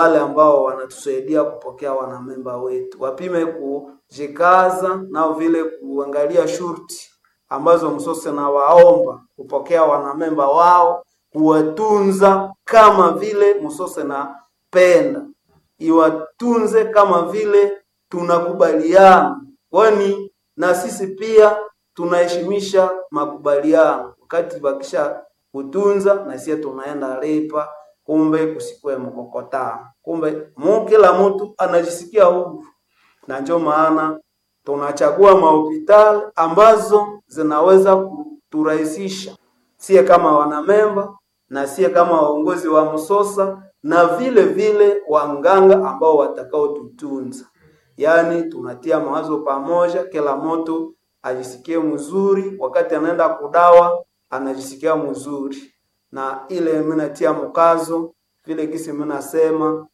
Wale ambao wanatusaidia kupokea wanamemba wetu wapime kujikaza nao vile kuangalia shurti ambazo msose na waomba kupokea wanamemba wao, kuwatunza kama vile msose na penda iwatunze kama vile tunakubaliana, kwani na sisi pia tunaheshimisha makubaliano. Wakati bakisha kutunza na sisi tunaenda lipa, kumbe kusikwe mkokotano, kumbe mu kila mtu anajisikia huru, na ndio maana tunachagua mahopitali ambazo zinaweza kuturahisisha sie kama wanamemba na sie kama waongozi wa Msosa na vile vile wanganga ambao watakaotutunza. Yaani tunatia mawazo pamoja, kila mtu ajisikie mzuri wakati anaenda kudawa, anajisikia mzuri, na ile mimi natia mkazo vile gisi mimi nasema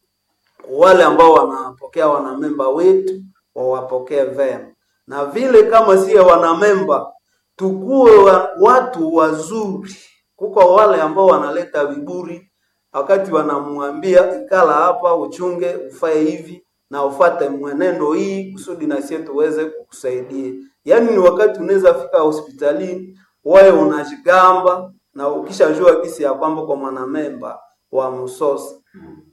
wale ambao wanapokea wanamemba wetu wawapokee vema, na vile kama sie wanamemba tukuwe watu wazuri. Kuko wale ambao wanaleta viburi wakati wanamwambia ikala hapa, uchunge, ufae hivi na ufate mwenendo hii kusudi na sie tuweze kukusaidia. Yaani ni wakati unaweza fika hospitalini wewe unajigamba na ukishajua kisi ya kwamba kwa mwanamemba wa Msosa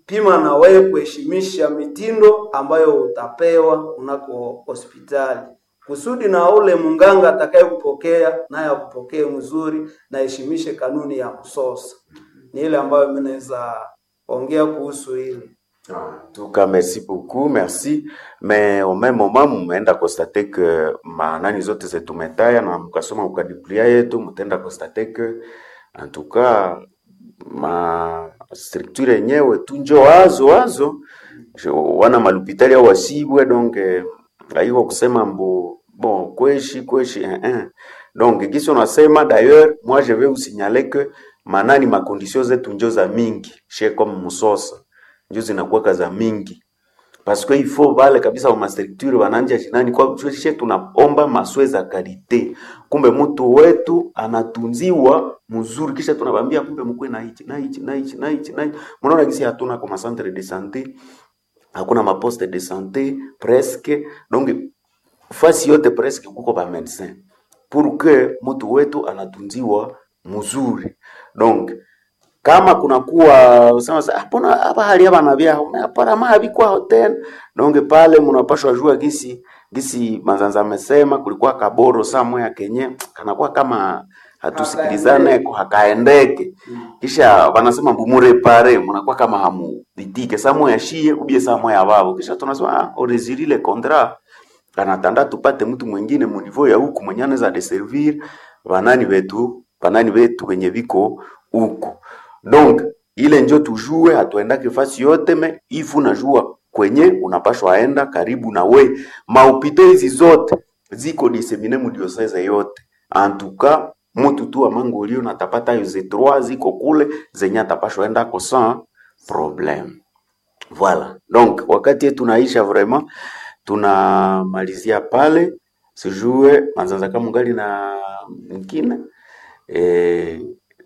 pima na wewe kuheshimisha mitindo ambayo utapewa unako hospitali kusudi na ule munganga atakayekupokea naye akupokee mzuri na heshimishe kanuni ya Msosa. Ni ile ambayo mimi naweza ongea kuhusu hili. En tout cas, merci beaucoup, merci. Mais au même moment mumeenda constater que manani zote zetumetaya na mkasoma mukadiplia yetu mutaenda constater que en tout cas ma structure yenyewe tu njo wazo wazo wana malupitali au wasibwe donc haiko kusema mbo bon kweshi kweshi eh, eh. Donc gisi unasema d'ailleurs moi je vais vous signaler que manani makondition zetu njo za mingi she comme Musosa njo zinakuwaka za mingi parce que il faut vale kabisa wa mastructure wananja shinani kwa she tunaomba maswe za kalite, kumbe mtu wetu anatunziwa mzuri, kisha tunabambia kumbe mkwe na hichi na hichi na hichi na hichi na hichi. Mnaona gisi hatuna kwa centre de santé, hakuna maposte de santé presque, donc fasi yote presque kuko ba médecin pour que mtu wetu anatunziwa mzuri donc kama kunakuwa sema sasa hapana hapa hali hapa na vya hapana mavi kwa hotel donc pale mnapashwa jua gisi gisi Manzanza amesema kulikuwa kaboro saa moya kenye kanakuwa kama hatusikilizane ko hakaendeke, kisha wanasema mbumurepare mnakuwa kama hamuditike saa moya shie ubie saa moya babo, kisha tunasema ah, oresili le contrat anatanda tupate mtu mwingine muniveau ya huku mwenye anaweza deservir banani wetu banani wetu wenye viko huku donc ile njo tujue, hatuendake fasi yote me ifu najua kwenye unapashwa aenda karibu na we. Maupito hizi zote ziko disemine mu diocese yote antuka mutu tu amangolio natapata yo ze trois ziko kule zenye atapashwa enda ko sans problème. Voilà, donc wakati yetu naisha vraiment, tunamalizia pale. Sijue Manzanza kama mungali na mkine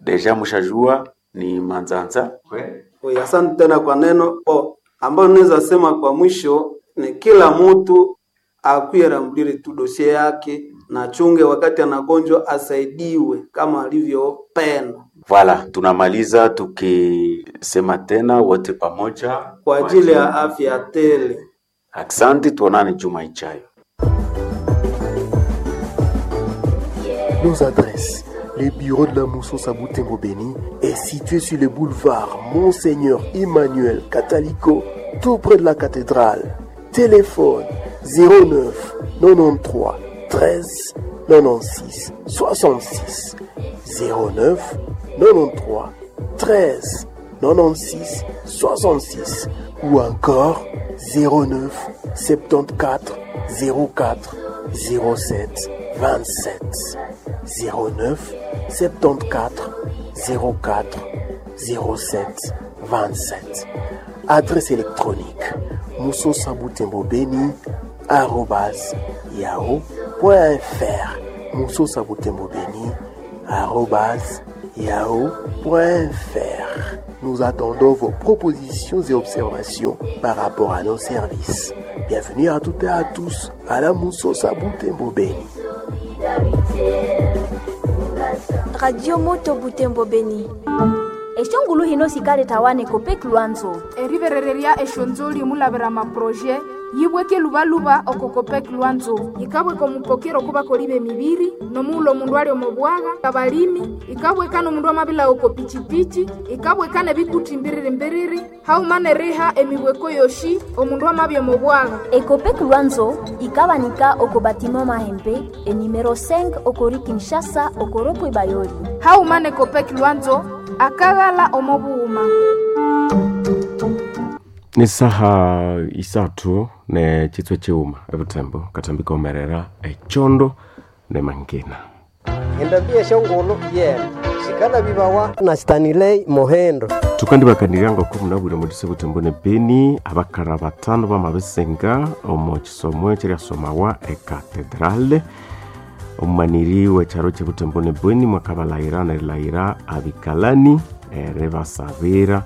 deja mushajua ni Manzanza we. Oye, asante tena kwa neno oh, ambayo naweza sema kwa mwisho ni kila mtu akuye rambulire tu dosie yake na chunge wakati anagonjwa asaidiwe kama alivyopenda. Voilà, tunamaliza tukisema tena wote pamoja kwa ajili ya afya tele. Asante, tuonane juma ijayo. Nos adresses. Le bureau de la Moussos à Boutembo-Béni est situé sur le boulevard Monseigneur Emmanuel Catalico, tout près de la cathédrale. Téléphone 09 93 13 96 66 09 93 13 96 66 ou encore 09 74 04 07 27 09 74 04 07 27. Adresse électronique moussosabutembobeni@yahoo.fr moussosabutembobeni@yahoo.fr. Nous attendons vos propositions et observations par rapport à nos services. Bienvenue à toutes et à tous à la Moussosa Butembo Beni. Radio Moto Butembo Beni. Eshongulu hino sikale tawane Copec Lwanzo. Eriberereria eshonzoli mulavera maproje yibweke lubaluba oko Copec Lwanzo ikabweka omupokero kubakoli b'emibiri nomuula omundu ali omo bwaga abalimi ikabweka n'omundu amabila oko pichipichi ikabweka n'ebikuti mbiriri mbiriri hauma neriha emibweko yoshi omundu amabya omo bwaga. Ecopec Lwanzo ikabanika oko batiment Mahembe enumero 5 okori Kinshasa okoropwe Bayoli. Hauma ne Copec Lwanzo akaghala omo bughuma. Ni saha isathu ne chitswe chiuma ebutembo katambi komerera echondo ne mangina. Endabia eshongolo yena sikala bibawa na Stanley Mohendo. Tukandibakanirya ngoko munabwire mudise butembo ne Beni abakara batano bamabisenga omo chisomo ekyeryasomawa ekatedrale omumaniri w'ekyaro ky'ebutembo ne Beni mwakabalayira nerilayira abikalani eribasabira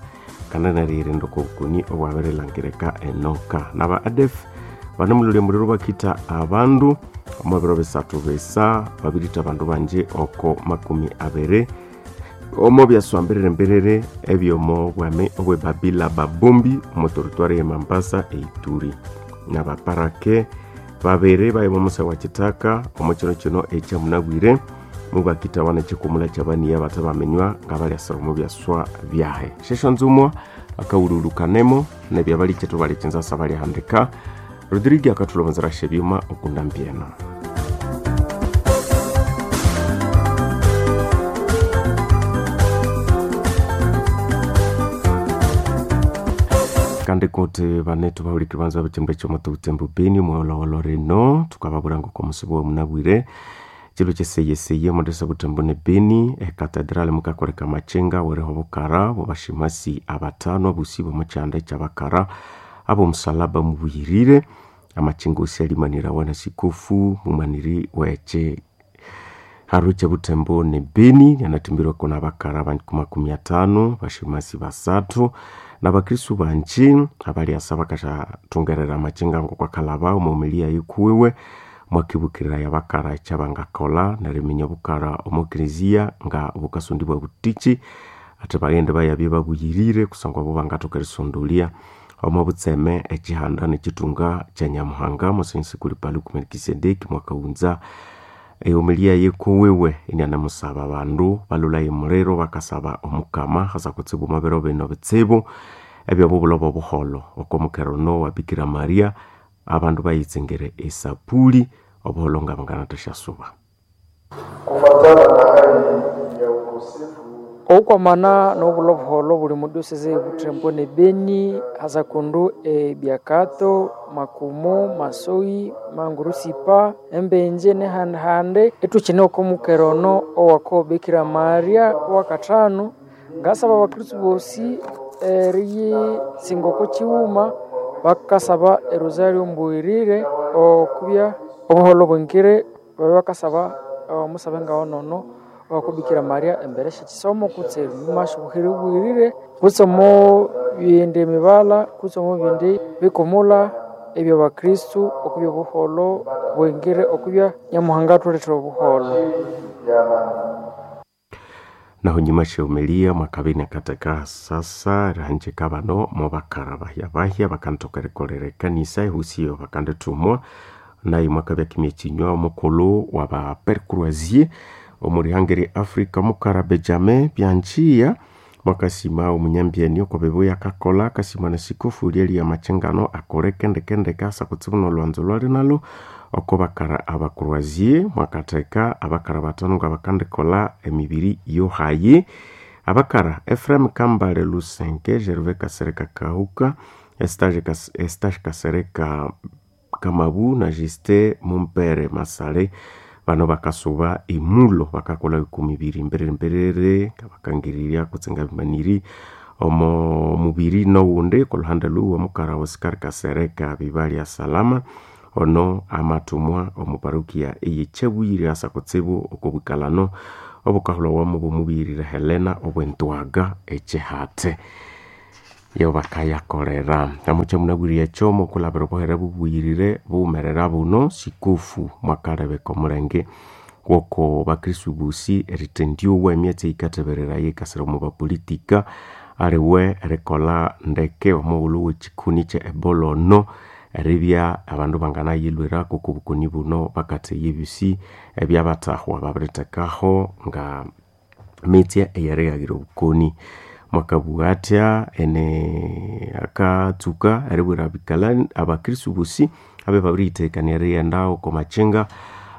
kandi neriyirinda okobukoni obwabirilangirika enoka naba ADF banemulolya omuliro bakita abandu omu biro bisathu bisa babirita abandu bangi oko 20 omo byaswambirire mbiriri ebyomo bwami obwebabila babumbi omu territoire ye Mambasa eituri nabaparake babiri bayiba omusa wa kitaka omu kiro kino ekyamunabwire mubakita wana ekikumula kyabaniya batabamenywa nga balyasira omu byaswa byahe shesho nzumwa akawululukanemo nebyabalikyetu balikyinsasa balyahandika Rodrigue akathulomezera shebyuma okunda mbyena. Kandi kuti banetu bahulikiri banza bachimba ekyomoto butembo Beni omwolowolo rino tukababwira ngoko omusibo womunabwire chilo kyeseyeseye omundisa butembo ne Beni ekatedrali mukakoleka machinga weriho bukara bobashimasi abatano abusi bomukyanda ekyabakara abomusalaba mubuyirire amachinga osi alimanira wana sikofu mumaniri wekye haru kyebutembo ne Beni yanatimbirwako nabakara banku 50 bashimasi basathu nabakristu banji abalyasa bakashathungerera amachinga ngokwakalaba omumilia yikuwiwe mwakibukirira yabakara ekyabangakola neriminya obukara omu eklezia nga bukasundibwa butichi ate baghende bayabye babuyirire kusangwa bo bangathoka erisondolya omo butseme ekihanda nekitunga kya Nyamuhanga musensi kuli Paluku Melkisedeki mwakaghunza ehomilia yikuwiwe inianamusaba abandu balulaye muliro bakasaba omukama hasa kutsibu omubiro bino bitsibu ebyobubulobo obuholo oko mukero wa Bikira Maria abandu bayitsengere esapuli obuholo nga banganathasya-suba. Kufatana na hali ya ukosefu oukwamana n'obula obuholo buli mudiosese ebutembo ne Beni hasa kundu ebyakato Makumo Masoi Mangurusipa Embenje nehandihandi ithukine oko mukero ono owako Bikira Maria owakathanu ngasaba abakristu bosi eriyitsinga oko kighuma bakasaba erosario mbuyirire okubya obuholo bwingire babya bakasaba omusabe ngawonono owako Bikira Maria embere syekisomo kutse ebimasha obuhire kutse omo bindi emibala kutse omo bindi bikumula ebyabakristu okubya obuholo bwingire okubya Nyamuhanga athulethera obuholo. Naho nyuma sheomelia mwakabini akateka sasa rihanjika bano mubakara bahya bahya bakanthoka erikolera ekanisa ehusiyo bakandithumwa naye mwakabya kimya kinywa omukulhu waba Père Croisier omurihanga erya Africa mukara Benjamin Byanchiya mwakasima omunyambyeni oko bibuya akakolha akasima nesikofu lyeliya amachingano akole kendekendeke asa kutsibu nolwanzo lwali nalo oko bakara abakroisier mwakatheka abakara batano nga bakandikolha emibiri yohayi abakara Ephraim Kambale Lusenke Gervais Kasereka Kahuka Estache Kasereka Kamabu na Justin Mumpere Masale bano bakasuba emulo bakakolha 12 mbiriri mbiriri bakangiriria kutsenga bimaniri omo mubiri nowundi koluhande luwa mukara Oscar Kasereka Bibalya Salama ono amatumwa omu parokia eyekyabuyire asa kutsibu okobwikalano Obukahulhawamu bwomubirire Helena obwentwaga echihate yo bakayakolera amukya munabwire ekyomo okulabira obuhere bubuyirire buwumerera buno sikufu mwakalebeka omulenge woko bakristu bosi erithendyowa emyatsi eyikathebereraya eyikasira omu bapolitika aliwe erikolha ndeke omughulhu wekikuni kye Ebola ono eribya abandu banganayilhwirako oko bukoni buno bakatheya ebyosi ebyabathahwa babirithekaho nga mitsye eyerighagira obukoni. Mwakabugha athya ene akatsuka eribwira abikalani abakristu bosi abe babiriyithekania erighenda oko makyinga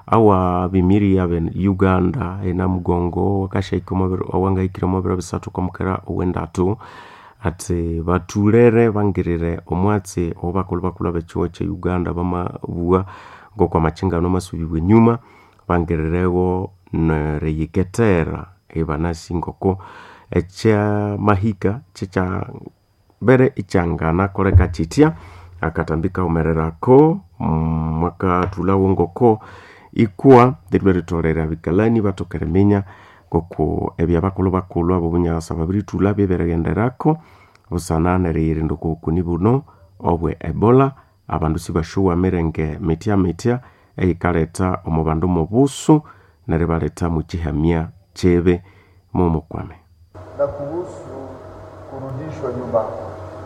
awa bimiri abe Uganda enamugongo akashaika awangahikire omo biro bisathu okwamukera owendatu athi bathulere bangirire omwatsi owabakulhu bakulhu ab'ekyihugho kye Uganda bamabugha ngoko amakyinga ano amasubibwa enyuma bangiriregho neriyikethera ibanasi ngoko ekyamahika kyekyabere ikyanganakoleka kyitya. Akatambi kawumererako mwakathulhawo ngoko ikuwa lirwe ritholere abikalani bathoka eriminya ngoko ebyabakulhu bakulhu abobunyasa babirithulha byeberighenderako busana neriyirinda oko bukoni buno obwe Ebola. Abandu sibasyowa mirenge mithya mithya eyikaletha omu bandu mobusu neribaletha mukyihamya kyibi mumukwame. Na kuhusu kurudishwa nyuma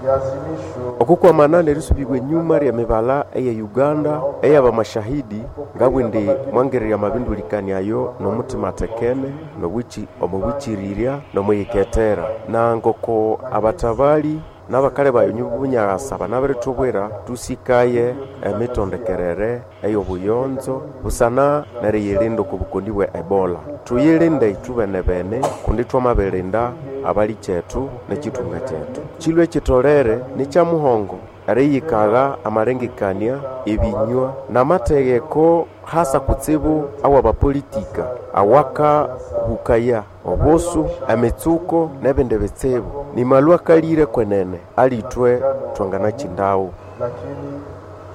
ya azimisho Okukwamana nerisubibwa enyuma ly'emibala eye Uganda ey'abamashahidi ngabwindi mwangirira amabindulikania ayo n'omutima athekene n'omubwikirirya n'omwiyikethera na ngoko abathabali n'abakali bayo bunyasa banabirithubwira tusikaye emitondekerere ey'obuyonzo busana neriyirinda oko bukoni bwe Ebola. Tuyilinde ithwe-bene kundi thwamabirinda abali kyethu n'ekithunga kyethu. Kilwe ekitolere nikyamuhongo eriyikagha amalengekania, ebinywa n'amategheko hasa kutsibu awabapolitika awakahukaya obusu, emitsuko n'ebindi bitsibu. Nimalhu akalire kwenene alithwe thwanganakyindawo. Lakini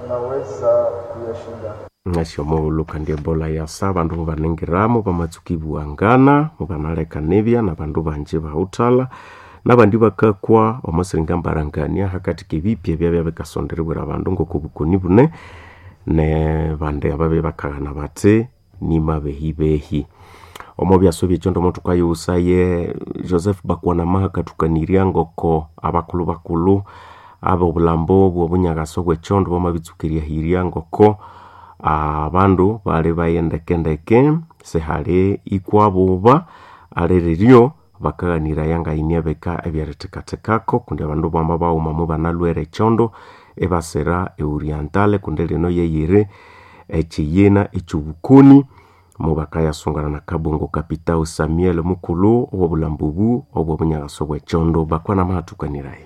tunaweza kuyashinda. Ngasyomughulhu kandi Ebola yasa abandu mubaningiramu bamatsuka ibughangana mubanalekanibya n'abandu bangi bawuthalha n'abandi bakakwa omo siringa mbarangania hakati k'ebipya ebyabya bikasonderibwira abandu ngoko obukoni bune nebandi ababya bakaghana bathi nimabehibehi. Omo byaswa ebyekyondo omuthukayiwusaye Joseph Bakwanamaha akathukanirya ngoko abakulhu bakulhu ab'obulambo bw'obunyakasa obw'ekyondo bamabitsuka eryahirya ngoko abandu bali baye ndekendeke sihali ikwabuba aliriryo bakaghaniraya ngayini ebika ebyerithekathekako kundi abandu bama baghuma mubanalhwere ekyondo ibasira eorientale kundi lino yeyiri ekyiyina ekyobukoni mubakayasungana na Kabongo Kapitao Samuel mukulhu ow'obulambo obu obw'obunyakasa obw'ekyondo bakwanamahathukaniraye.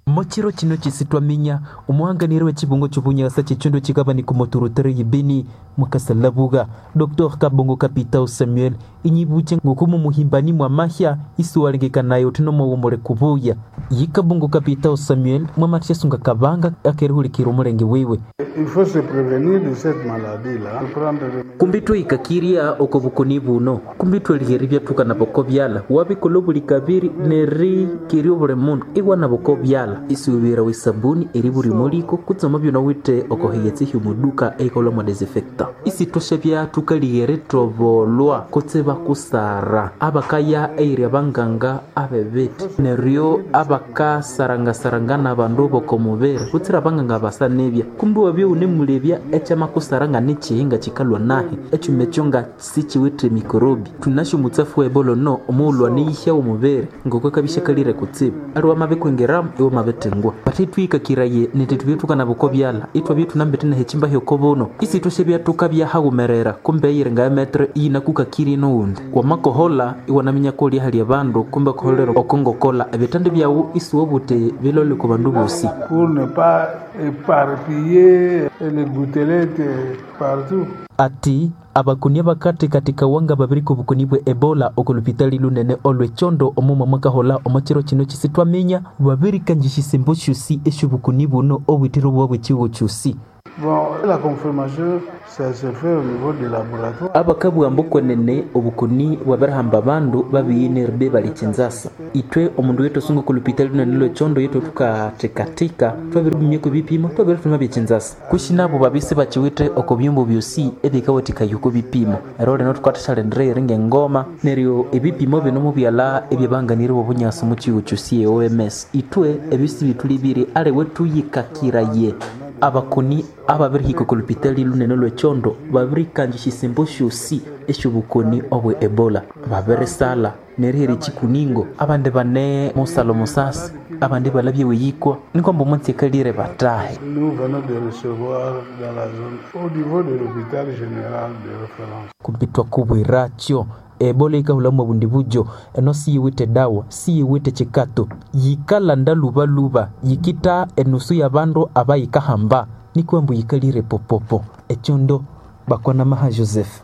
Mochiro chino chisitwaminya omuhanganiri w'echibungo ky'obunyasa ky'ekyondo chikabani kumoturutere yibini mwakasalabuga Dr. Kabongo Kapitao Samuel inyibuche ngokumu muhimbani mwa mahya isuwalengekanayo tino mwawomole kubuya yi Kabongo Kapitao Samuel mwamatyasunga kabanga akerihulikira omulenge wiwe. Il faut se prévenir de cette maladie-là. Prendre kumbi twihikakirya oko bukoni buno kumbi tweligheri byathuka boko byala wabikola obuli kabiri nerikirya obuli mundu iwana boko byala isuubira wesabuni eri buli muliko kutsema byona withe okoheyetsa ehyomuduka eikolwa mwa desinfectant isithwasha byathukalighere thobolwa kutse bakusara abakaya eyiri abanganga abebithi neryo abakasarangasarangana abandu bokomubiri kutsira abanganga basanebya kumbi wabya wunemulebya ekyamakusara nga nikihinga kikalwa nahi ekyuma ekyo nga sikiwithe mikorobi thunasyo omutsafu wa ebola no omughulhu aniyihya omubiri ngoko akabisyakalire kutsibu aliwe amabikwingiramu iwe mabithengwa bathe twihikakiraye niti thubye thukanaboko byala ithwabye thunambete nehekimba hyokobuno isithwasya byathuka byahaghumerera kumbe eyiri nga emetere iyinakukakirye nowundi wamakohola iwanaminya kolya hali abandu kumbe koholera okongokola ebithandi byawu isiwobuthi bilole ku bandu bosi pour ne pas éparpiller les gouttelettes partout. Ati abakoni abakathekatheka wanga babiri ku bukoni bwe Ebola oku lupitali lunene olw'ekyondo omuma mwakahola omo kiro kino kisithwaminya babirikanjisya esyombo syosi esy'obukoni buno obwithire obwa bw'ekihugho kyosi. Bon, la confirmation, ça se fait au niveau du laboratoire. Abakabugha ambu kwenene obukoni bwabirihamba abandu babiyinirbe bali Kinshasa. Ithwe omundu wetu asunga oku lupitali lunene lw'ekyondo yethu thukathikathika twabiribumyako ebipimo twabirithuma bya Kinshasa. Kwishi nabo babya isibakiwithe oko byumba byosi ebikawathikaya oko bipimo. Ero lino thukathasyalindirira eringa engoma neryo ebipimo bino mubyalha ebyabanganirye bobunyasi omu kihugho kyosi e OMS. Ithwe ebyo sibithulibire aliwe thuyikakiraye abakoni ababirihika oko lupitali lunene lw'ekyondo babirikanja esyisembo syosi esyobukoni obwe Ebola. Babirisala nerihera ekikuningo abandi bane musalo musasi abandi balabye weyikwa nikwamba omunsi akalire batahe. Nous venons de recevoir dans la zone, au niveau de l'hôpital général de référence. Kumbi twakubwirakyo Ebola yikahulhamu obundi bujo eno siyiwithe dawa siyiwithe kikato yikalanda lubaluba yikitha enusu y'abandu abayikahamba nikwa ambu yikalire popopo ekyondo bakwanamaha Joseph.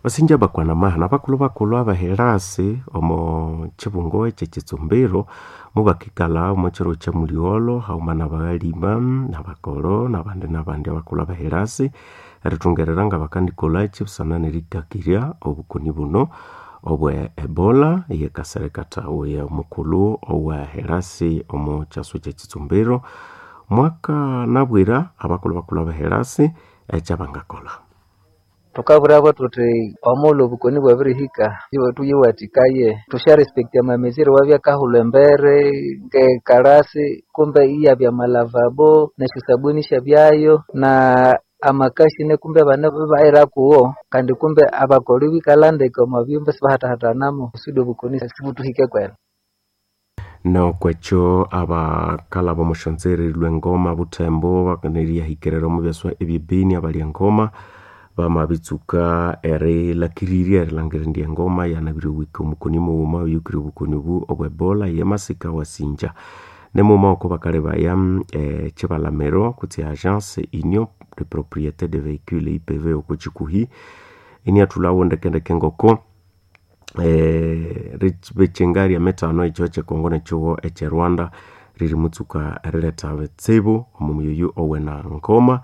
Basinja bakwanamaha nabakulhu bakulhu abaherasi omo kibungo ekyekitsumbiro mubakikalha omo kiro kya mulyolho haghuma nabaghalima nabakoro nabandi nabandi abakulhu abaherasi erithungerera ngabakandikolhaki busana nerikakirya obukoni buno obwe Ebola eyekaserekatha oyo omukulhu owa herasi omo kyaswa ekyekitsumbiro mwakanabwira abakulhu bakulhu abaherasi ekyabangakolha. Thukabwirabo thuthi omughulhu obukoni bwabirihika thuyiwathikaye thusyarespekta amamezire awabyakahulha embere ngekalasi kumbe iyabya amalavabo nesyosabuni isyabyayo na amakashine kumbe abana ibaghira kuwo kandi kumbe abakolho ibikalha ndeke omo byumba isibahathahathanamo kusudi obukoni sibuthihike kwene. Nokwekyo abakalha bomusyonzere lwengoma Butembo neriyahikirira omu byaswa ebyebeni abalya engoma bamabitsuka erilhakirirya erilhangira indi engoma yanabiriwika omukoni mughuma oyukire obukoni obu obwe Ebola ye masika wasinja. Nimughuma oko bakalebaya ekibalamiro kutse agence Union de Propriété de Véhicules IPV oko kikuhi iniathulhawo ndekendeke ngoko ribikyenga ryemithano ekihugho ekye Congo nekihugho ekye Rwanda ririmutsuka eriletha ebitsibu omo muyoyo owena ngoma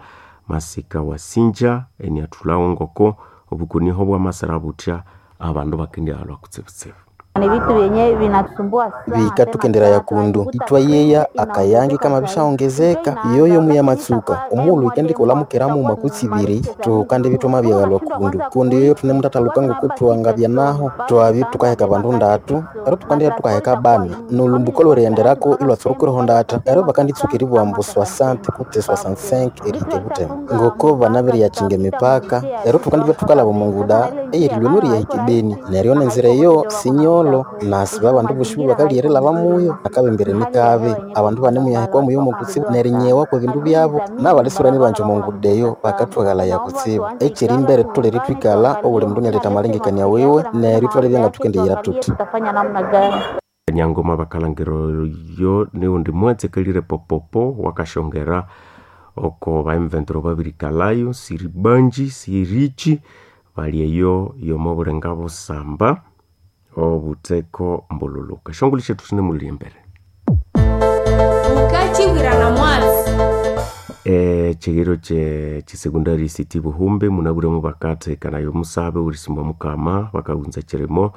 masika wasinja iniathulhawo ngoko obukoni bwamasira buthya abandu bakendyaghalhwa kutsibutsibu. Ni vitu vyenye vinatusumbua sana. Bikathukenderaya kundu ithwayeya akayangi kamabishaongezeka yoyo muyamatsuka omughulhu ikendikolhamukira mughuma kutsi ibiri tukandi bithwamabyaghalwa kundu kundi yoyo thunemuthathaluka ngoku thwangabya naho twabya thukaheka bandu ndatu ero tukandibya thukaheka bani nolumbuko olwerighenderako ilwatsurukireho ndatha ero bakanditsuka eribugha ambu 60 kutse 65 erihika ebuthema ngoko banabiriyakyinga emipaka ero thukandibya thukalhaba omunguda eyerilhwa eriyahika ebeni neryo nenzira eyo sinyolho nasiba abandu bosi bakalyerilhaba muyo akabembere nikabi abandu banemuyahikwa muyo mukutsibu nerinyewa kwebindu byabo nabalisurani banje omunguda eyo bakathwaghalaya kutsibu ekyerimbere thutholere ithwikalha obuli mundu inialetha amalengekania wiwe neryo ithwalebya ngathukendiyira thuthi. Tutafanya namna gani? Nyangoma bakalhangira oyo niwundi mwatsi akalire popopo wakashongera oko ba M23 babirikalhayo siribanji sirichi bali eyo yomo obulenga busamba obutheko mbululuka shongolo syethu sinemulya embere Ukachibwirana mwatsi ekihiro kye kisecondary city Buhumbi munabwiremu bakathekanayo omusabe ourisimba mukama bakaghunza ekirimo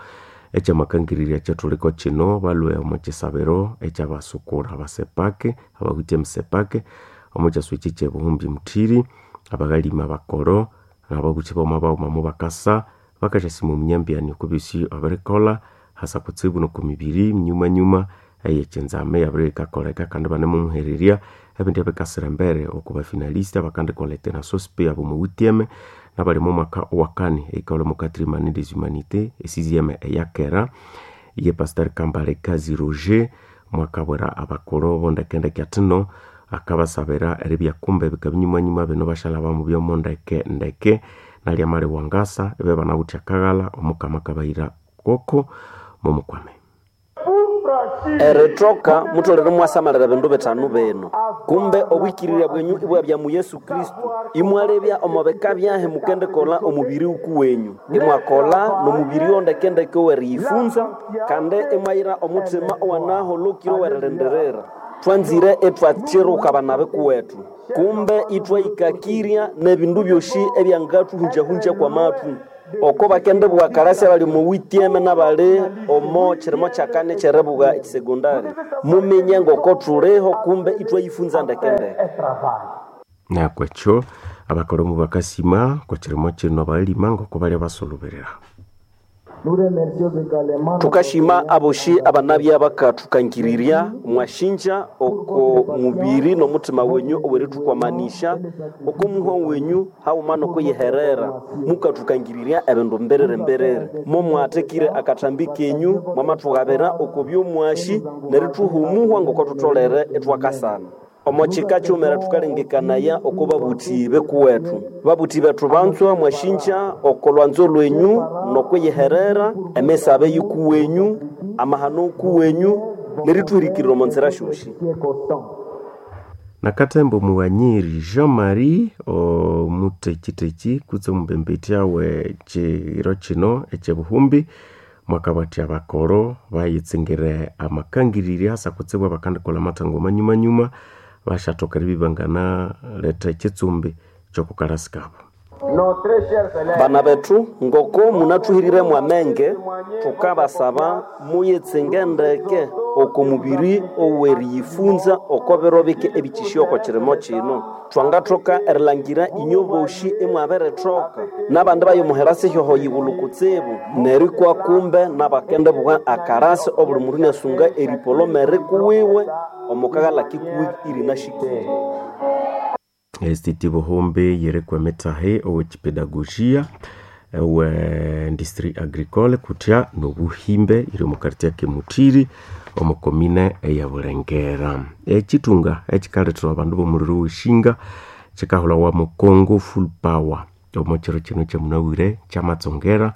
ekyamakangirirya kyathuliko kino balhwe omo kisabiro ekyabasukura abasepake abawithe emisepake omo kyaswa ekyi kye Buhumbi Muthiri abaghalima abakoro nababuthi baghuma baghuma mubakasa bakasyasima omunyambyani okwa byosi abirikolha hasa kutsibu noko mibiri nyuma eyekyinzama eyabirikakoleka kandi ibanemumuhererya ebindi ebikasira embere oko bafinalist abakandikolha etenasospe abomuwithyeme nabali omo mwaka owakani eyikalha omo quatrième année des humanités esixième eyakera ye Pastor Kambale Kazi Roger mwakabwira abakulhu bondekendeke athino akabasabira eribya kumbe bikabya nyumanyuma bino basyalhaba mubyomo ndeke nalya amali wangasa ibe banawithe akaghalha omukama akabayira koko mumukwame. Erithoka mutholere imwasamalira ebindu bithanu bino: kumbe obwikirirya bwenyu ibwabya mu Yesu Kristo, imwalebya omo bika byahi mukendikolha omubiri wukuwenyu, imwakolha nomubiri wondekendeke oweriyifunza, kandi imwayira omuthima owanaholokire owerilindirira. Twanzire etwachiruka bana bikuwethu kumbe itwaikakirya n'ebindu byosi ebyangathuhunjahunja kwa mathu oko bakendibugha karasi abali omo witieme n'abali omo kirimo kyakane kyeribuga ekisegondari muminye ngoko thuliho kumbe itwayifunza ndekendeke. Nakwekyo abakolomu bakasima kwa kirimo kino balima ngoko balya basuluberera. Thukashima aboshi abanabya bakathukangirirya mwashinja oko mubiri n'omuthima wenyu owerithukwamanisha oko muhwa wenyu haghuma n'okuyiherera mukathukangirirya ebindu mbiriri mbiriri momwathekire akathambi kenyu mwamathughabira oko byomwashi nerithuha omuhwa ngoko thutholere ithwakasana. Omo kika kyumera thukalengekanaya oko babuthi bekuwethu babuthi bethu banzwa mwashinja oko lwanzo lwenyu n'okwiyiherera emisabe yikuwenyu amahano kuwenyu nerithuhirikirira omo nzira syosi. Nakathemba omughanyiri Jean-Marie omuthekitheki kutse omumbembethya we kiro kino ekyebuhumbi mwakabathya abakoro bayitsingire amakangiriri asa kutsibu abakandikolha amathango manyumanyuma bashathoka eribya ibanganaleta ekitsumbi kyokukalasi kabo. Bana bethu ngoko munathuhirire mwamenge thukabasaba muyitsinge ndeke oko mubiri oweriyifunza oko biro bike ebikyisya oko kirimo kino. Thwangathoka erilhangira inyo boshi imwabirithoka n'abandi bayomuhera sihyoho yighulhu kutsibu nerikwa kumbe n'abakendibugha akarasi obuli mundu inyasunga eripolomere kuwiwe omukaghalha kikuwi irinashikire. STT Buhumbi yiriko emitahi ow'ekipedagogia owe industrie agricole kutya n'obuhimbe iri omu quartier Kemuthiri omu komine eya Bulengera. Ekitunga ekikalethera abandu b'omuliro w'eshinga kikahulhawa mu Congo Full Power omo kiro kino kyamunabwire kyamatsongera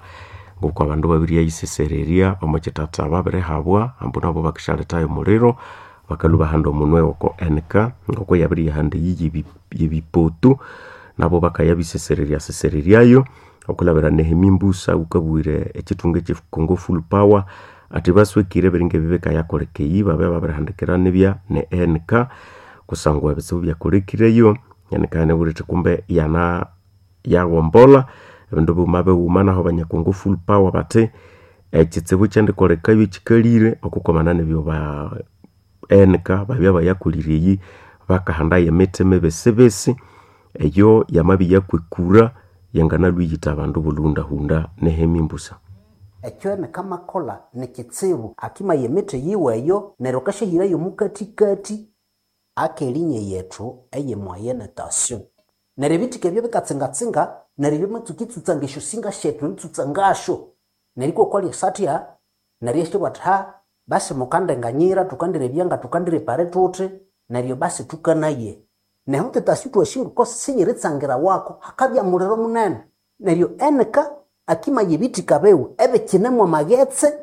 ngoko abandu babiryayisesererya omo kithatha babirihabwa ambu nabo bakisyalethayo omuliro bakalhwa bahanda omunwe oko NK ngoko yabiriyahanda eyi yebipoto nabo bakayabisesererya sesereryayo okulabira Nehemi Mbusa wukabwire ekitunga ekye Congo Full Power athi baswekire ebiringa ebi bikayakoleka eyi babya babirihandikira nibya ne NK kusangwa ebitsibu byakolekireyo NK yanabwire ithi kumbe yana yaghombolha ebindu bighuma bighuma naho abanya Congo Full Power bathi ekitsibu kyandikolekayo ekikalire okukwamana nebyo ba NK babya bayakolire eyi bakahandayo emithi mibisibisi eyo yamabya yakwekura yanganalwa iyitha abandu bulundahunda Nehemi Mbusa. Ekyo nikamakholha nikitsibu akimaya emithi yiwe eyo neryo akasyahirayo omukathikathi akelinya yethu eye moyenne tension. Neryo ebithika ebyo bikatsingatsinga neryo byamatsuka itsutsanga esyosinga syethu eritsutsa ngasyo neryo ikwakwalya satya neryo isyabugha athi ha basi mukandenganyira thukandirebya nga thukandirepare thuthi neryo basi thukanaye. Nehu tetasi thwasi sinyiritsangira wako hakabya muliro munene neryo enika akimaya ebithika biwe ebikinemu amaghetse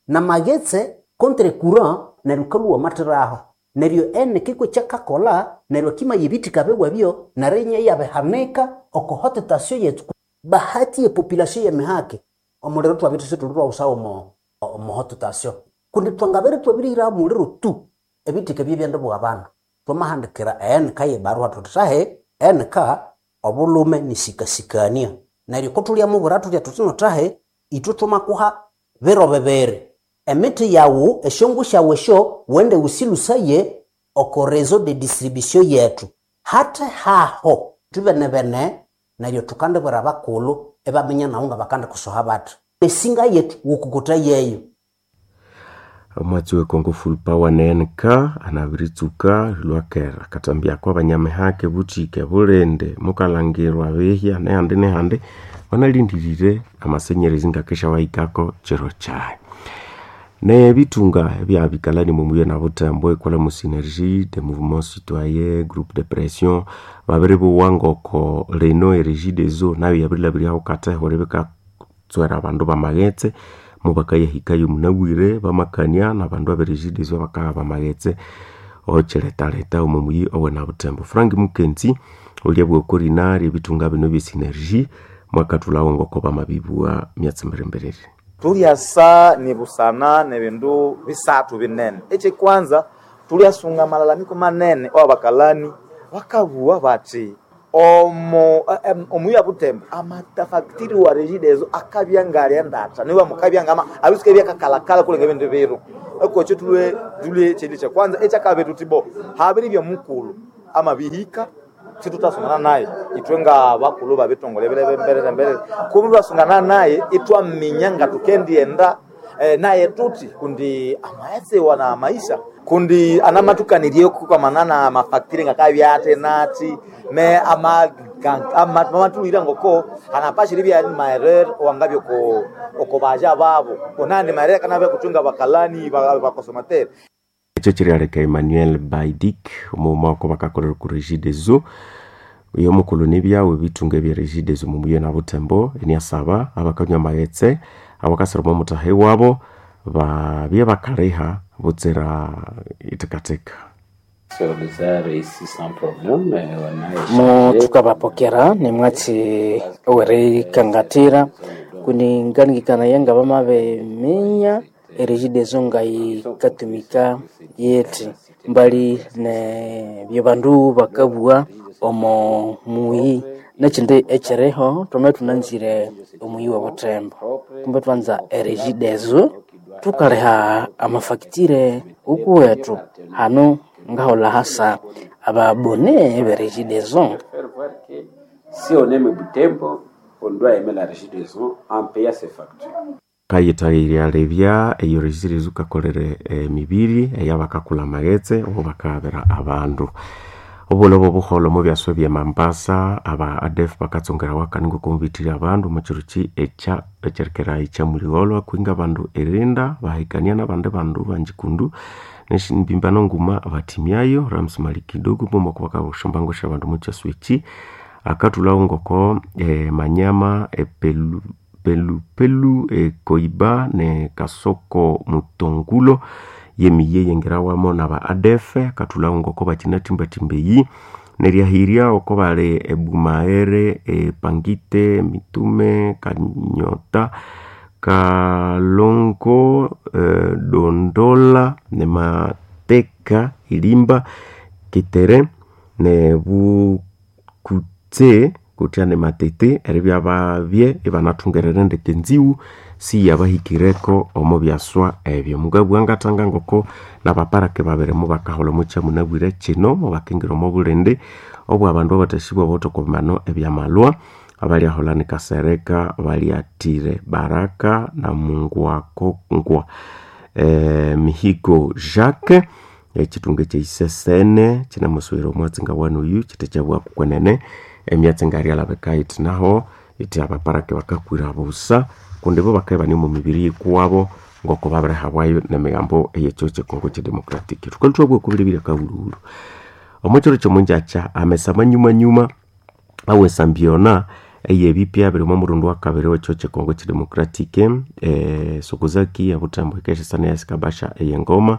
namaghetse contre courant neryo kalhwa wamathiraho neryo enika ikw'ekyakakolha neryo akimaya ebithika biwe ebyo neryo inya iyabihanika oko haute tension yethu. Bahati ye population yemihake omuliro thwabya isithuli thwawusawo omo haute tension kundi thwangabere thwabirihiraho omuliro tu ebithika ebyo ibyandibugha abandu. Thwamahandikira eNK yebarua thuthi thahi NK obulhume nisikasikania neryo kothulhyamubwira thuthya thuthi no thahi ithwe thwamakuha biro bibiri emithi yawu esyongu syawu esyo wende wusilhusaye oko réseau de distribution yethu hathe haho thwibenebene neryo thukandibwira abakulhu ibaminya nawu ngabakandikusoha bathi esinga yethu wukukutha yeyo. Omwatsi we Congo Full Power ne NK anabiritsuka lwakera akathambya abanyamihake buthike bulindi mukalangirwa bihya nehandi nehandi banalindirire amasenyerezi ngakeshyawahikako kiro kyayi. Nebitunga ebyabikalani mumuye na Butembo ekwala mu synergie de mouvement citoyen groupe de pression babiribuwa ngoko lino erégie des eaux nayo yabirilabiryaho katheho bikatswera abandu bamaghetse mubakayahikayo munabwire bamakania nabandu abe régie des eaux bakaha bamaghetse okyiretaleta omo muyi owena Butembo. Frank Mukenzi olyabugha okorina ryebitunga bino bye synergie mwakathulhawo ngoko bamabibugha myatsi mbirimbiriri. Tulyasa nibusana nebindu bisathu binene. Ekyekwanza Tulyasunga amalalamiko manene awabakalani bakabuwa bathi omo omuyi wa Butembo amatafactiri wa Regideso akabya ngalya ndatha niwa mukabya ngama abisuka byakakalakala kulenga ebindu biro ekokyo tulwe tulwe chili cha kwanza ekyakabiri tuti bo habiri bya mukulu amabihika situtasungana naye itwe nga bakulu babitongole birebe mbere mbere kubi twasungana naye itwaminya nga tukendienda naye tuti kundi amaesewa na maisha kundi anamatukanirye kukamanana mafactory ngakabyate nati me amatulira ngoko anapashiri bya maerere wangabyo ko okobaja babo onandi maerere kanabya kuchunga bakalani bakosomateri. Ekyo kiryaleka Emmanuel Baidik omughuma wako bakakolera ku Regideso oyo omukulhu nibyawe ebitunga ebya Regideso mumuye na Butembo eniasaba abakanywa amaghetse abakasira omo muthahe wabo babye bakaliha butsira ithekatheka. Mu tukabapokera nimwatsi owerikangatira kuninganikana nga bamabiminya eregideso nga yikatumika yeti mbali ne byebandu bakabugha omo muyi nekindi ekyiriho twame thunanzire omuyi wa Butembo kumbe twanza eregideso tukaliha amafacture ukuwethu hanu ngaholha hasa ababone beregideso. Si on aime Butembo, on doit aimer la Regideso en payant ses factures. Kayithagirya eyo Regideso kakolere emibiri eyabakakula amaghetse obo bakabera abandu obulobo obuholho mubyaswa bye Mombasa aba ADF bakatsongera wakani ngokumubithirya abandu omukyiro ekya ekyerikera ekyamuligholwa kwinga abandu erinda bahikania nabandi bandu banjikundu neshimbimbano nguma bathimyayo Rams Malikidogo mumoko bakabushambango syabandu mukyaswa eki akathulhawo ngoko Manyama epelu pelupelu ekoiba ne Kasoko Mutongulo yemiye yengerawamo naba ADF akathulhawo ngoko bakinathimbathimba eyi neryahirya oko bali ebumaere epangite mitume Kanyota Kalongo Dondola ne Mateka Ilimba Kitere ne Bukutse kutya ne Matete eribya babye ibanathungerera ndeke nziwu siyabahikireko omo byaswa ebyo. Mugabwa ngathanga ngoko nabaparake babiri mubakaholha omo kyamunabwire kino mubakingira omo bulindi obwa abandu abathasibwa bawithe ebyamalwa abalyaholha ni Kasereka balyathire Baraka na Mungwakongwa Mihigo Jacques ekithunga ekyeisesene kinamusuwira omwatsi ngawanoyu kithe kyabugha kwenene emyatsi ngaryalabika yithi naho ithi abaparake bakakwira busa kundi bo bakabya ibane omu mibiri yikuwabo ngoko babirihabwayo nemigambo eyekyo kyekongo kyedemocratic. Thukalwa thwabugha okubiribiri akahulhuhulhu omo kyiro kyomungyakya amesa manyumanyuma awesambyona eyebipya biri omo murundi wakabiri wekyo kyekongo kyedemocratic Sokozaki ya Butembo yikeshesana eyasikabasha eyengoma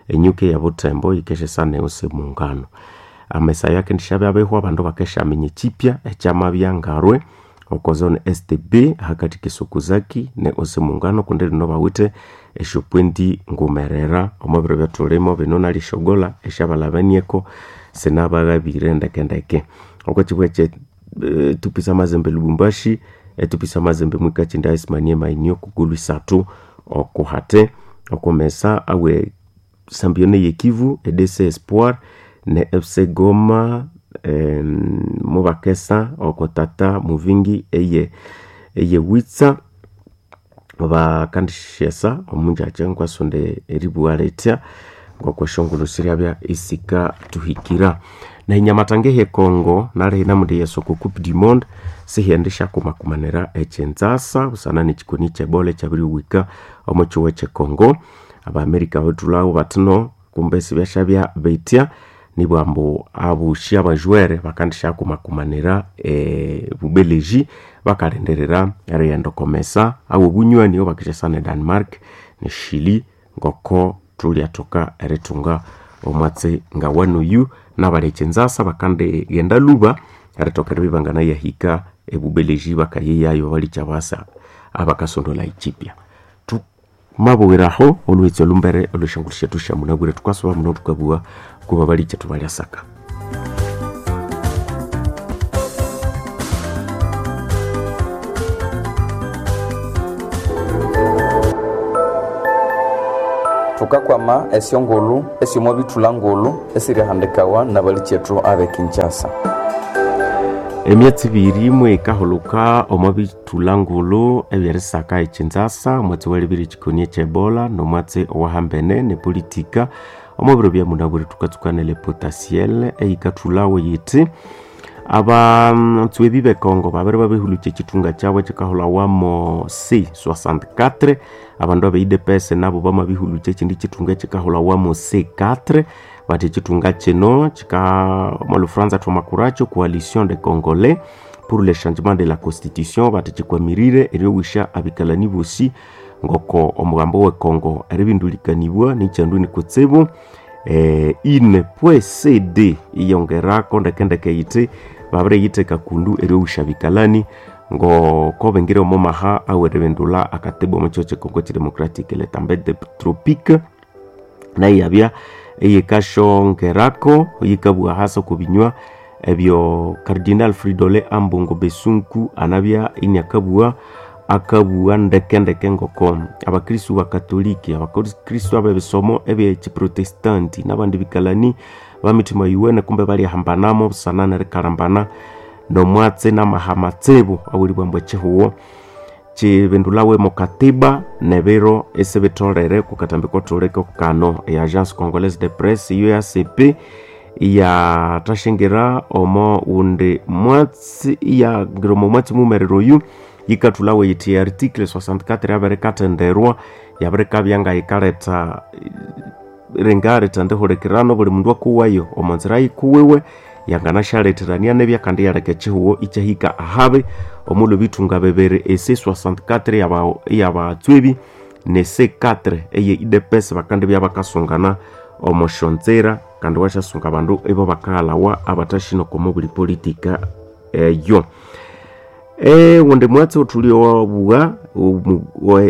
enyuka eya Butembo yikeshesana eyose mungano. Amesa ayo akendishabya abihwa abandu bakeshaminya ekyipya ekyamabya ngarwe oko zone STB ahakathi ke Sokozaki ne ose mungano kundi lino bawithe esyopointi ngumerera omo biro ebyathulimo bino nalisyogola esyabalhabanieko sinabaghabire ndekendeke. Oko kibugha kye tupisa Mazembe Lubumbashi etupisa Mazembe mwikakindi aisimanie mainio kugulu isathu okuhate okumesa awe sambione yekivu EDC Espoir ne FC Goma mubakesa okotata muvingi eye witsa bakandishesa omunjakya nkwasonde eribugha lithya ngokweshongolo siryabya isika tuhikira. Nehinyamatanga ehe Congo nalihi namundi yesoko Coupe du Monde sihyendisha kumakumanira ekyenzasa busana nekikoni kyebola ekyabiriwika omo kyihugho ekye Congo. Abamerika bathulhawo bathino kumbe sibyashabya bithya nibwambu abushi abajwere bakandisha kumakumanira Bubeleji bakalindirira erighenda okomesa abo obunywani obakishasana e Denmark ne Chile ngoko thulyathoka erithunga omwatsi ngawanoyu nabali ekyenzasa bakandighenda lhuba erithoka eribya ibanganayahika eBubeleji bakayeyayo balikya basa abakasondolha ekyipya. Mabwiraho olwetso lumbere olweshangulu shetu sha munabwire tukasuba muno tukabua kuba bali chetu balyasaka. Tukakwama esyongulu esyomo bithula ngulu esirihandikawa nabalikyetu abe Kinshasa. Emyatsi ibiri imwe ikahuluka omo bithula ngulu ebyerisaka ekinzasa omwatsi welibiri ekikoni ekyebola nomwatsi owahambene nepolitika omo biro bya munabwire tukatsukanele potasiel eyikathulawo yithi abatswebi bekongo babiri babihulukya ekithunga kyabo ekikahulawamo C64 abandu abe UDPS nabo bamabihulukya ekindi kithunga ekikahulawamo C4 bati ekithunga kino kika mu Lufranza thwamakuracho Coalition des Congolais pour le changement de la constitution bati kikwamirire eryowisha abikalani bosi ngoko omugambo wekongo eribindulikanibwa nikyandu nikutsibu ine pwe cd iyongerako ndekendeke yiti babiriyitheka kundu eryowisha bikalani ngoko bengire omo maha aweribindula akatibu omo kyo kyekongo kidemocratic le tempête tropique nayo yabya eyikashongerako yikabugha hasi oko binywa ebyo Cardinal Fridolin Ambongo Besunku anabya iniakabugha akabugha ndekendeke ngoko abakristu bakatoliki abakristu abebisomo ebyekiprotestanti nabandi bikalani bamitima yuwene kumbe balyahambanamo busana nerikalambana nomwatsi namahamatsibu awulibwambu ekihuwo kibindulawe mu katiba nebiro esibitolere kukatambi kotoleke kano e Agence Congolaise de Presse UACP iyathashingira omo undi mwatsi iyangira omo mwatsi mumerero oyu yikathulawe yithi article 64 yabirikathenderwa yabirikabya nga yikaletha ringaletha ndihulekirano buli mundu akuwayo omo nzira yikuwiwe yanganasyaletherania nebya kandi yaleka ekihuwo ikyahika ahabi omulhu bithunga bibiri ese 64 eyabatswebi ne C4 eye UDPS bakandibya bakasungana omo syonzira kandi wasyasunga abandu ibo bakaghalawa abathashinoko omo buli politika eyo. Wundi mwatsi othuli owabugha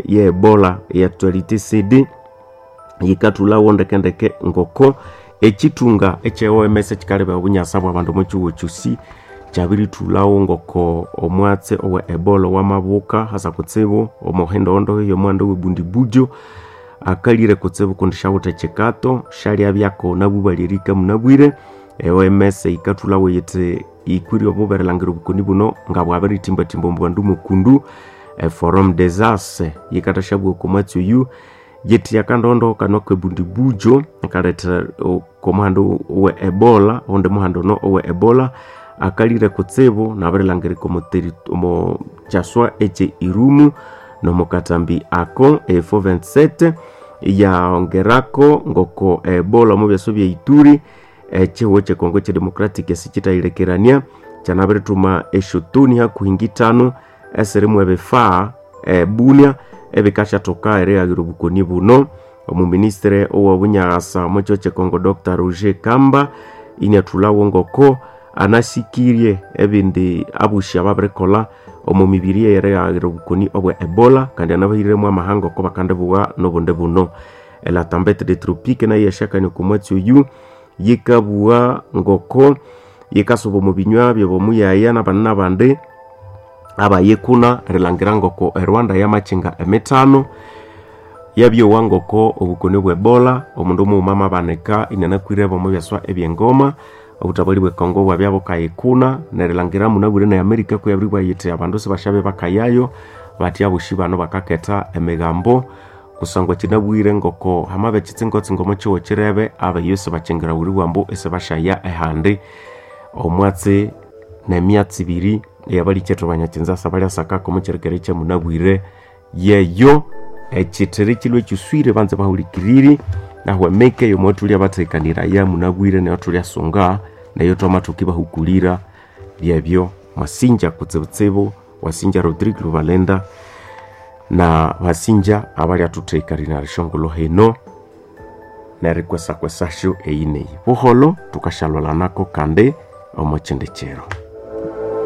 ye Ebola ye actualité CD yikathulawo ndekendeke ngoko ekithunga ekye OMS ekikaleba obunyasa bwa bandu omo kihugho kyosi kyabirithulawo ngoko omwatsi owe Ebola wamabuka hasa kutsibu omuhindohondo yomuhanda owebundibujo akalire kutsibu kundi syawithe ekikato syalyabyako nabubalya munabwire. OMS yikathulawo yithi yikwire omuberelangira obukoni buno nga bwabiritimbatimba omu bandu mukundu. Forum des As yikathasyabuwa oko mwatsi oyu yithi akandondo kano kebundibujo kaletha omuhanda owe Ebola owundi muhanda ono owe Ebola akalire kutsibu nabirilangirika omo kyaswa ekye Irumu nomukatambi ako E427 yaongerako ngoko Ebola omu byaswa bya Ituri ekihuwo kyekongo kyedemocratic esikithayilekerania kyanabirithuma esyotoni hakuhi ngithanu esirimu ebifaa ebunia ebikasyathoka erighayira obukoni buno. Omuministere owobunyagasa omo kihugho kyekongo Dr Roger Kamba iniathulhawo ngoko anasikirye ebindi abushi ababirikolha omo mibiri eyerighayira obukoni obwe Ebola kandi anabahiremu amahanga oko bakandibugha nobundi buno. La tempête des tropiques nayo yasyakania oko mwatsi oyu yikabugha ngoko yikasuba omu binywa byabomuyaya nabandi nabandi abayikuna erilhangira ngoko eRwanda yamakyenga emithano yabyowa ngoko obukoni bwe Ebola omundu mughuma amabanika inianakwirebo omo byaswa ebyengoma obutabali bwe Congo bwabya bukayikuna nerilhangira munabwire ne America kuyabiribwa yithi abandu sibasyabe bakayayo bathi abosi bano bakaketha emigambo kusangwa kinabwire ngoko hamabe ekitsingotsingo omo kihugho kirebe abeyo sibakyingira wulibwambu isibasyaya ehandi omwatsi nemyatsi ibiri eyabalikethu abanyakinzasa balyasakako omo kyirikere kyamunabwire yeyo ekithiri kilwe kyuswire banze bahulikiriri nahu emike yomwathulya bathekaniraya munabwire nayo thulyasunga nayo thwamathoka ibahukulira byebyo mwasinja kutsibutsibu wasinja Rodrigue Lubalenda na basinja abalyathuthekanira rishongolo hino nerikwesakwesasyo eyineyi buholo thukashalwalanako kandi omo kyindi kiro.